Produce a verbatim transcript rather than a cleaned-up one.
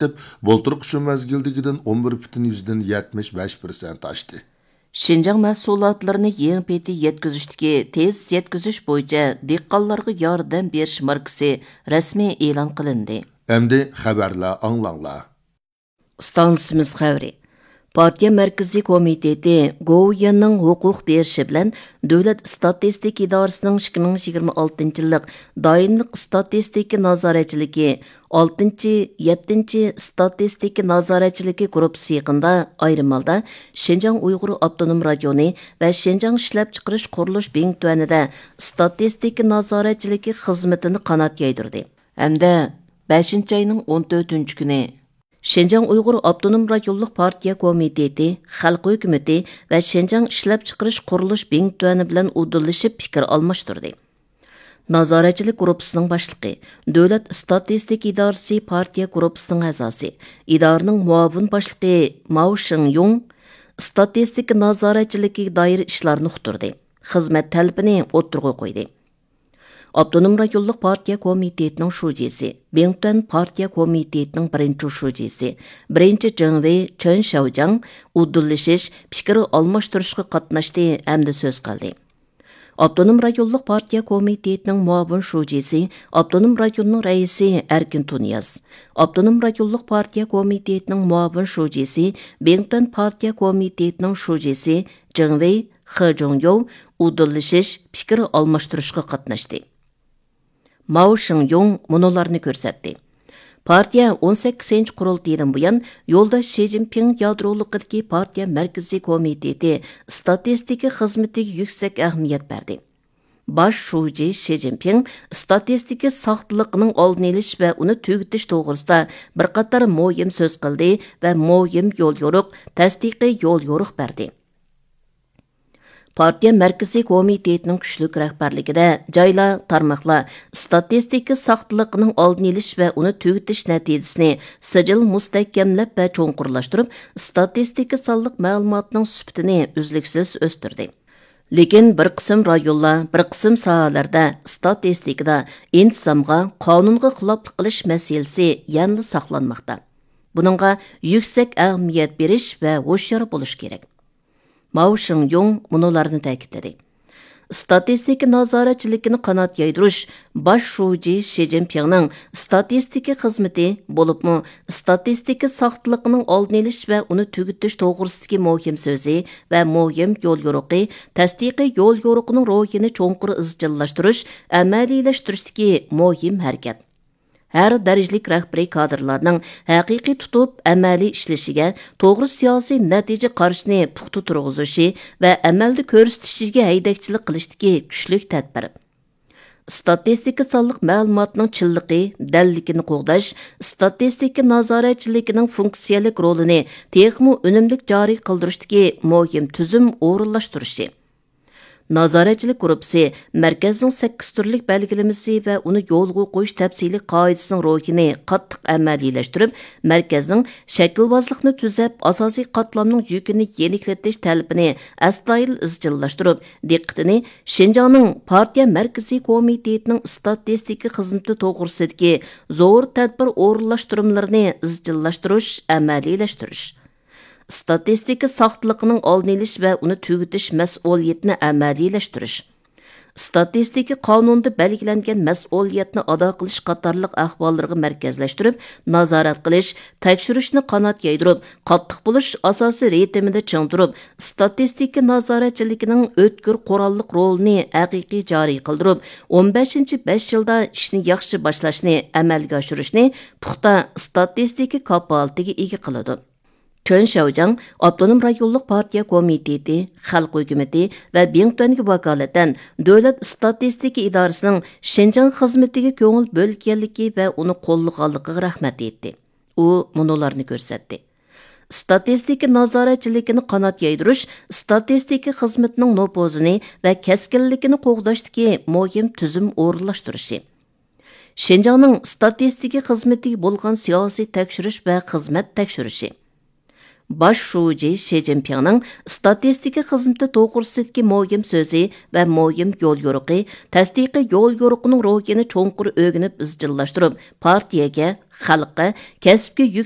بولتۇرقى شۇ مەزگىلدىكىدىن ئون بىر پۈتۈن يۈزدىن يەتمىش بەش پىرسەنت ئاشتى. شىنجاڭ مەھسۇلاتلىرىنى يېڭى پېتى يەتكۈزۈشتىكى تېز يەتكۈزۈش بويىچە دېھقانلارغا ياردەم بېرىش ماركىسى رەسمىي ئېلان قىلىندى. ئەمدى خەۋەرلەر ئاڭلاڭلار. ئىستانسىمىز خەۋىرى. پارتىيە مەركىزىي كومىتېتى گوۋۇيۈەننىڭ ھوقۇق بېرىشى بىلەن دۆلەت ئىستاتىستىكا ئىدارىسىنىڭ ئىككى مىڭ يىگىرمە ئالتىنچى يىللىق دائىملىق ئىستاتىستىكا نازارەتچىلىكى ئالتىنچى، يەتتىنچى ئىستاتىستىكا نازارەتچىلىكى گۇرۇپپىسى يېقىندا ئايرىم ھالدا شىنجاڭ ئۇيغۇر ئاپتونوم رايونى ۋە شىنجاڭ ئىشلەپچىقىرىش قۇرۇلۇش بىڭتۈەنىدە ئىستاتىستىكا نازارەتچىلىكى خىزمىتىنى قانات يايدۇردى ھەمدە بەشىنچى ئاينىڭ ئون تۆتىنچى كۈنى شىنجاڭ ئۇيغۇر ئاپتونوم رايونلۇق پارتىيە كومىتېتى، خەلق ھۆكۈمىتى ۋە شىنجاڭ ئىشلەپچىقىرىش قۇرۇلۇش بىڭتۈەنى بىلەن ئۇدۇللىشىپ پىكىر ئالماشتۇردى. نازارەتچىلىك گۇرۇپپىسىنىڭ باشلىقى، دۆلەت ئىستاتىستىكا ئىدارىسى پارتىيە گۇرۇپپىسىنىڭ ئەزاسى، ئىدارىنىڭ مۇئاۋىن باشلىقى ماۋ شىڭيۇڭ ئىستاتىستىكا نازارەتچىلىكىگە دائىر ئىشلارنى ئۇقتۇردى، خىزمەت تەلىپىنى ئوتتۇرىغا قويدى. ئاپتونوم رايونلۇق پارتىيە كومىتېتىنىڭ شۇجىسى، بىڭتۈەن پارتىيە كومىتېتىنىڭ بىرىنچى شۇجىسى، بىرىنچى جېڭۋېي چېن شياۋجياڭ ئۇدۇللىشىش، پىكىر ئالماشتۇرۇشقا قاتناشتى ھەمدە سۆز قىلدى. ئاپتونوم رايونلۇق پارتىيە كومىتېتىنىڭ مۇئاۋىن شۇجىسى، ئاپتونوم رايوننىڭ رەئىسى ئەركىن تۇنىياز، ئاپتونوم رايونلۇق پارتىيە كومىتېتىنىڭ مۇئاۋىن شۇجىسى، بىڭتۈەن پارتىيە كومىتېتىنىڭ شۇجىسى جېڭۋېي خې جۇڭيوۋ ئۇدۇللىشىش، پىكىر ئالماشتۇرۇشقا قاتناشتى. ماۋ شىڭيۇڭ مۇنۇلارنى كۆرسەتتى. پارتىيە ئون سەككىزىنچى قۇرۇلتىيىدىن بۇيان يولداش شى جىنپىڭ يادرولۇقىدىكى پارتىيە مەركىزىي كومىتېتى ئىستاتىستىكا خىزمىتىگە يۈكسەك ئەھمىيەت بەردى. باش شۇجى شى جىنپىڭ ئىستاتىستىكا ساختىلىقىنىڭ ئالدىنى ئېلىش ۋە ئۇنى تۈگىتىش توغرىسىدا بىر قاتار مۇھىم سۆز قىلدى ۋە مۇھىم يول يورۇق، تەستىقىي يول يورۇق بەردى. پارتىيە مەركىزىي كومىتېتىنىڭ كۈچلۈك رەھبەرلىكىدە جايلار، تارماقلار ئىستاتىستىكا ساختىلىقىنىڭ ئالدىنى ئېلىش ۋە ئۇنى تۈگىتىش نەتىجىسىنى سىجىل مۇستەھكەملەپ ۋە چوڭقۇرلاشتۇرۇپ، ئىستاتىستىكا سانلىق مەلۇماتنىڭ سۈپىتىنى ئۈزلۈكسىز ئۆستۈردى. لېكىن بىر قىسىم رايونلار، بىر قىسىم ساھەلەردە ئىستاتىستىكىدا ئىنتىزامغا، قانۇنغا خىلاپلىق قىلىش مەسىلىسى يەنىلا ساقلانماقتا. بۇنىڭغا يۈكسەك ئەھمىيەت بېرىش ۋە ھوشيار بولۇش كېرەك. ماۋ شىڭيۇڭ مۇنۇلارنى تەكىتلىدى. ئىستاتىستىكا نازارەتچىلىكىنى قانات يايدۇرۇش باش شۇجى شى جىنپىڭنىڭ ئىستاتىستىكا خىزمىتى، بولۇپمۇ ئىستاتىستىكا ساختىلىقىنىڭ ئالدىنى ئېلىش ۋە ئۇنى تۈگىتىش توغرىسىدىكى مۇھىم سۆزى ۋە مۇھىم يول يورۇقى، تەستىقىي يول يورۇقىنىڭ روھىنى چوڭقۇر ئىزچىللاشتۇرۇش، ئەمەلىيلەشتۈرۈشتىكى مۇھىم ھەرىكەت. ھەر دەرىجىلىك رەھبىرىي كادىرلارنىڭ ھەقىقىي تۇتۇپ ئەمەلىي ئىشلىشىگە، توغرا سىياسىي نەتىجە قارىشىنى پۇختا تۇرغۇزۇشى ۋە ئەمەلدە كۆرسىتىشىگە ھەيدەكچىلىك قىلىشتىكى كۈچلۈك تەدبىر. ئىستاتىستىكا سانلىق مەلۇماتنىڭ چىنلىقى، دەللىكىنى قوغداش، ئىستاتىستىكا نازارەتچىلىكىنىڭ فۇنكسىيەلىك رولىنى تېخىمۇ ئۈنۈملۈك جارى قىلدۇرۇشتىكى مۇھىم تۈزۈم ئورۇنلاشتۇرۇشى. نازارەتچىلىك گۇرۇپپىسى مەركەزنىڭ سەككىز تۈرلۈك بەلگىلىمىسى ۋە ئۇنى يولغا قويۇش تەپسىلىي قائىدىسىنىڭ روھىنى قاتتىق ئەمەلىيلەشتۈرۈپ، مەركەزنىڭ شەكىلۋازلىقنى تۈزەپ، ئاساسىي قاتلامنىڭ يۈكىنى يېنىكلىتىش تەلىپىنى ئەستايىدىل ئىزچىللاشتۇرۇپ، دىققىتىنى شىنجاڭنىڭ پارتىيە مەركىزىي كومىتېتىنىڭ ئىستاتىستىكا خىزمىتى توغرىسىدىكى زور تەدبىر ئورۇنلاشتۇرمىلىرىنى ئىزچىللاشتۇرۇش، ئەمەلىيلەشتۈرۈش. ئىستاتىستىكا ساختىلىقىنىڭ ئالدىنى ئېلىش ۋە ئۇنى تۈگىتىش مەسئۇلىيىتىنى ئەمەلىيلەشتۈرۈش. ئىستاتىستىكا قانۇنىدا بەلگىلەنگەن مەسئۇلىيەتنى ئادا قىلىش قاتارلىق ئەھۋاللىرىغا مەركەزلەشتۈرۈپ، نازارەت قىلىش، تەكشۈرۈشنى قانات يايدۇرۇپ، قاتتىق بولۇش ئاساسىي رىتىمىدا چىڭ تۇرۇپ، ئىستاتىستىكا نازارەتچىلىكىنىڭ ئۆتكۈر قوراللىق رولىنى ھەقىقىي جارى قىلدۇرۇپ، ئون بەشىنچى بەش يىلدا ئىشنى ياخشى باشلاشنى ئەمەلگە ئاشۇرۇشنى پۇختا ئىستاتىستىكا كاپالىتىگە ئىگە قىلىدۇ. چېن شياۋجياڭ ئاپتونوم رايونلۇق پارتىيە كومىتېتى، خەلق ھۆكۈمىتى ۋە بىڭتۈەنگە ۋاكالىتەن دۆلەت ئىستاتىستىكا ئىدارىسىنىڭ شىنجاڭ خىزمىتىگە كۆڭۈل بۆلگەنلىكى ۋە ئۇنى قوللىغانلىقىغا رەھمەت ئېيتتى. ئۇ مۇنۇلارنى كۆرسەتتى. ئىستاتىستىكا نازارەتچىلىكىنى قانات يايدۇرۇش ئىستاتىستىكا خىزمىتىنىڭ نوپۇزىنى ۋە كەسكىنلىكىنى قوغداشتىكى مۇھىم تۈزۈم ئورۇنلاشتۇرۇشى. شىنجاڭنىڭ ئىستاتىستىكا خىزمىتىگە بولغان سىياسىي تەكشۈرۈش ۋە خىزمەت تەكشۈرۈشى. باش شۇجى شى جىنپىڭنىڭ ئىستاتىستىكا خىزمىتى توغرىسىدىكى مۇھىم سۆزى ۋە مۇھىم يول يورۇقى، تەستىقىي يول يورۇقىنىڭ روھىنى چوڭقۇر ئۆگىنىپ ئىزچىللاشتۇرۇپ، پارتىيەگە، خەلققە، كەسىپكە يۈك